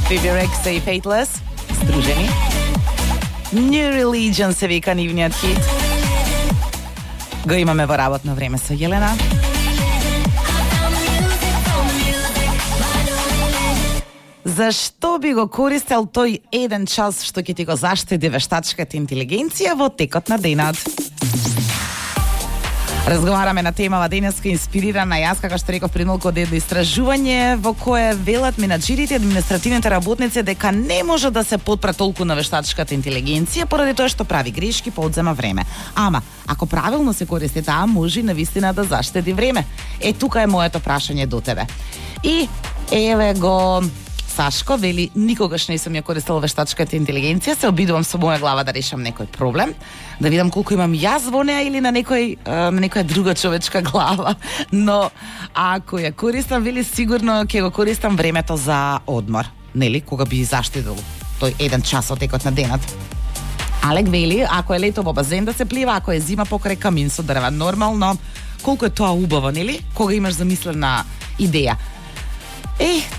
Phoebe Rexa и Faithless, здружени. New Religion се вика нивниот хит. Го имаме во работно време со Јелена. Зашто би го користел тој еден час што ќе ти го заштеди вештачката интелигенција во текот на денот? Разговараме на темава денеска инспирирана јас, како што реков пред малку, од едно истражување во кое велат менаџерите и административните работници дека не може да се потпра толку на вештачката интелигенција поради тоа што прави грешки, поодзема време. Ама, ако правилно се користи таа, може навистина да заштеди време. Тука е моето прашање до тебе. И еве го Сашко вели, никогаш не сум ја користел вештачката интелигенција, се обидувам со моја глава да решам некој проблем, да видам колку имам јас во неа или на некоја друга човечка глава. Но ако ја користам, вели, сигурно ќе го користам времето за одмор. Нели, кога би заштедил тој еден час од текот на денот. Алек вели, ако е лето во базен да се плива, ако е зима покрај камин со дрва, нормално, колку е тоа убаво, нели? Кога имаш замислена идеја.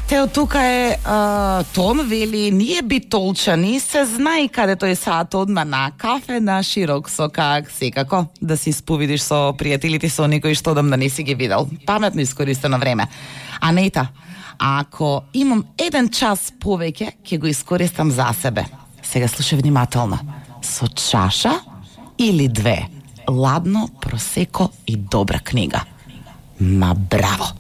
Те од тука е Том вели, ние битолчани се знае каде тој саат одма на кафе на широк со как секако да се исповидиш со пријателите со некои што да не си ги видел. Паметно искористено време. Анета, ако имам еден час повеќе, ќе го искористам за себе. Сега слушај внимателно. Со чаша или две, ладно, просеко и добра книга. Ма браво!